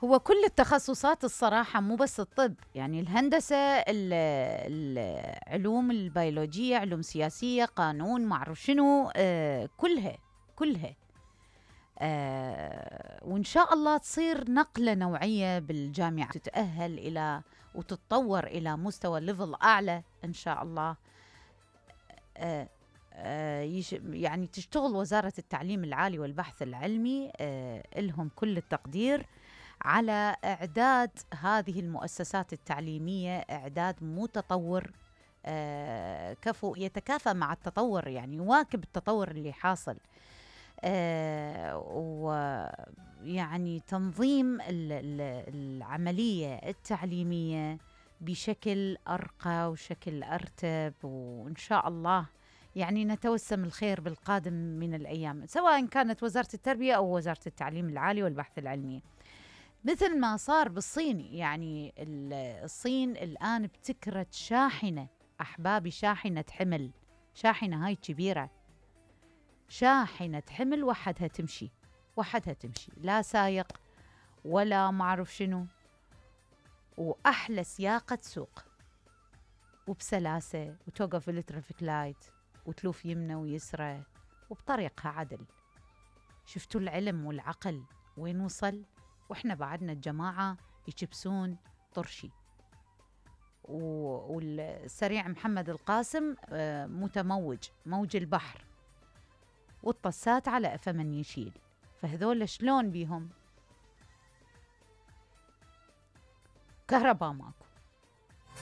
هو كل التخصصات الصراحة، مو بس الطب، يعني الهندسة، العلوم البيولوجية، علوم سياسية، قانون، معرف شنو، كلها وإن شاء الله تصير نقلة نوعية بالجامعة، تتأهل إلى وتتطور إلى مستوى ليفل أعلى إن شاء الله. يعني تشتغل وزارة التعليم العالي والبحث العلمي لهم كل التقدير على إعداد هذه المؤسسات التعليمية إعداد متطور، كفو يتكافى مع التطور، يعني يواكب التطور اللي حاصل، ويعني تنظيم العملية التعليمية بشكل أرقى وشكل أرتب، وإن شاء الله يعني نتوسم الخير بالقادم من الأيام، سواء كانت وزارة التربية أو وزارة التعليم العالي والبحث العلمي، مثل ما صار بالصين. يعني الصين الآن ابتكرت شاحنة، أحبابي، شاحنة حمل، شاحنة هاي كبيرة، شاحنة حمل وحدها تمشي، وحدها تمشي، لا سايق ولا معرف شنو، وأحلى سياقة سوق، وبسلاسة، وتوقف الترافيك لايت، وتلوف يمنى ويسرى، وبطريقها عدل. شفتوا العلم والعقل وين وصل؟ وإحنا بعدنا الجماعة يكبسون طرشي. والسريع محمد القاسم متموج، موج البحر، والطسات على أفا من يشيل، فهذول شلون بيهم؟ كهرباء ماكو،